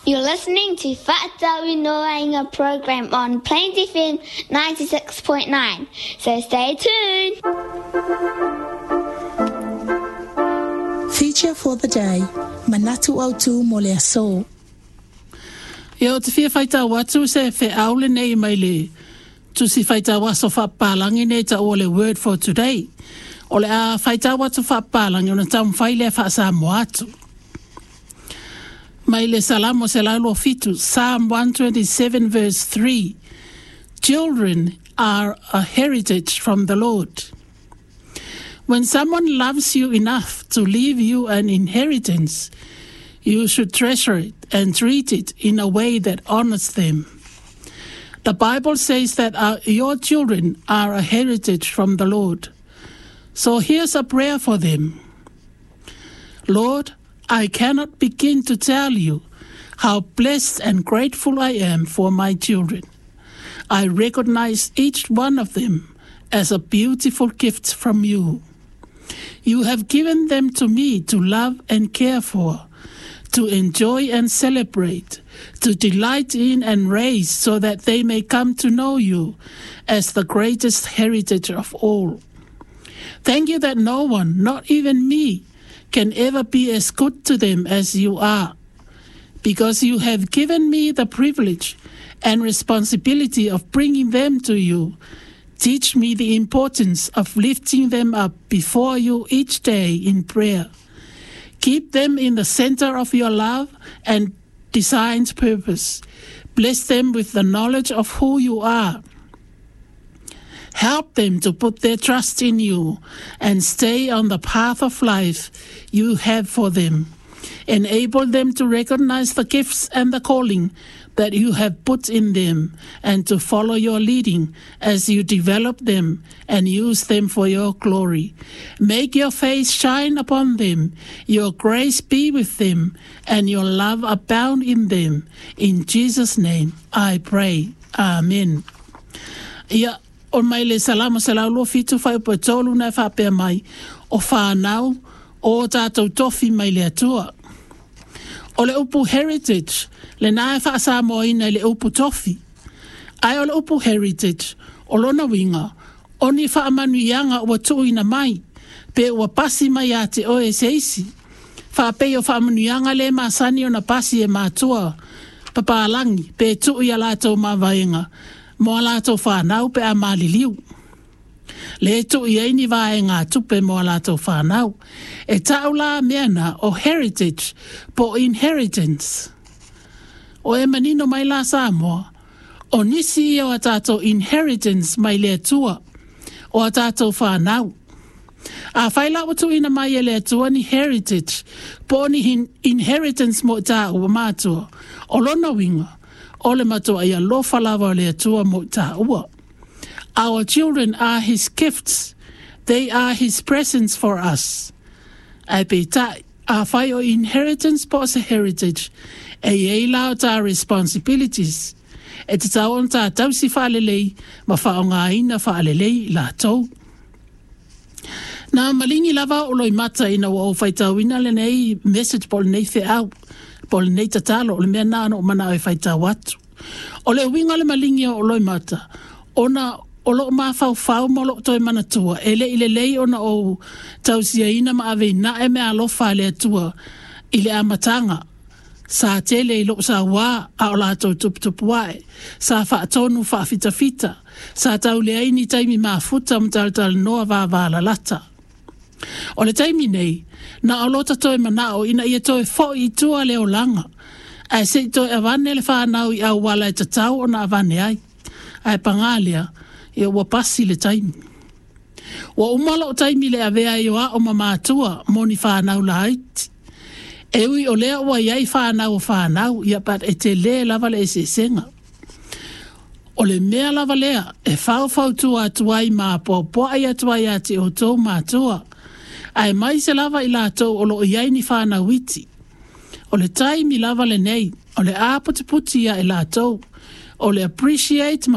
You're listening to Fa'atauinoaina program on Plains FM 96.9, so stay tuned. Feature for the day, Manatu Autu mo le aso. Ia, ou te fia faitau atu se feau lenei mai le Tusi Faitau Aso Faapapalangi nei taua o le Word for Today. O le a faitau atu faapapalangi ona taumafai lea faa-Samoa atu. Mai le Salamo 127, Psalm 127 verse 3, Children are a heritage from the Lord. When someone loves you enough to leave you an inheritance, you should treasure it and treat it in a way that honors them. The Bible says that your children are a heritage from the Lord. So here's a prayer for them. Lord, I cannot begin to tell you how blessed and grateful I am for my children. I recognize each one of them as a beautiful gift from you. You have given them to me to love and care for, to enjoy and celebrate, to delight in and raise so that they may come to know you as the greatest heritage of all. Thank you that no one, not even me, can ever be as good to them as you are, because you have given me the privilege and responsibility of bringing them to you. Teach me the importance of lifting them up before you each day in prayer. Keep them in the center of your love and designed purpose. Bless them with the knowledge of who you are. Help them to put their trust in you and stay on the path of life you have for them. Enable them to recognize the gifts and the calling that you have put in them and to follow your leading as you develop them and use them for your glory. Make your face shine upon them, your grace be with them, and your love abound in them. In Jesus' name I pray. Amen. Ia, o mai le Salamo 127 fuaiupu e 3 na e faapea mai, O whānau, o tātou tofi mai le Atua. O le upu heritage, lenā e faa-Samoaina i le upu tofi. Ae o le upu heritage, o lona uiga, o ni faamanuiaga ua tuuina mai, pe ua pasi mai ia te oe e se isi. Faapei o faamanuiaga le masani ona pasi e matua papalagi pe tuu i a latou mavaega mo a latou fanau pe a maliliu. Le tuu i ai ni vaegatupe mo a latou fanau. E ta'u la mea na o heritage po o inheritance. O e manino mai la Samoa, o nisi ia o a tatou inheritance mai le Atua, o a tatou fanau. Afai la ua tuuina mai e le Atua ni heritage po o ni inheritance mo i tāua matua, o lona uiga, o le matuaʻi alofa lava o le Atua mo i tāua. Our children are His gifts, they are His presents for us. Ae peitai, afai o inheritance po o se heritage, e i ai la o tā responsibilities, e tatau ona tā tausi faalelei ma faaaogaina faalelei i latou. Na maligi lava o Loimata ina ua ou faitauina lenei message po o lenei feau, po o lenei tatalo, o le mea na na ou manao e faitau atu. O le uiga o le maligi o Loimata, ona o loo mafaufau ma o loo toe manatua, e le i lelei ona ou tausiaina ma aveina e meaalofa a le Atua i le amataga. Sa tele i lou sauā a o latou tuputupu ae, sa faatonu faafitafita, sa tau leai ni taimi mafuta ma talatalanoa vavalalata. O le taimi nei, na o lota toe manao ina ia toe foʻi i tua le olaga, ae se i toe avane le fanau i auala e tatau ona avane ai. Ae pagā lea, ia ua pasi le taimi. Ua uma lou taimi i le avea ai o a'u ma matua mo ni fanau laiti. E ui o lea ua i ai fanau o fanau, ia but e telē lava le eseesega. O le mea lava lea e faufautua atu ai ma apoapoai atu ai ia te outou matua, aemaise lava i latou o lo o i ai ni fanau iti. O le taimi lava lenei o le aputiputi ia i latou, o le appreciate ma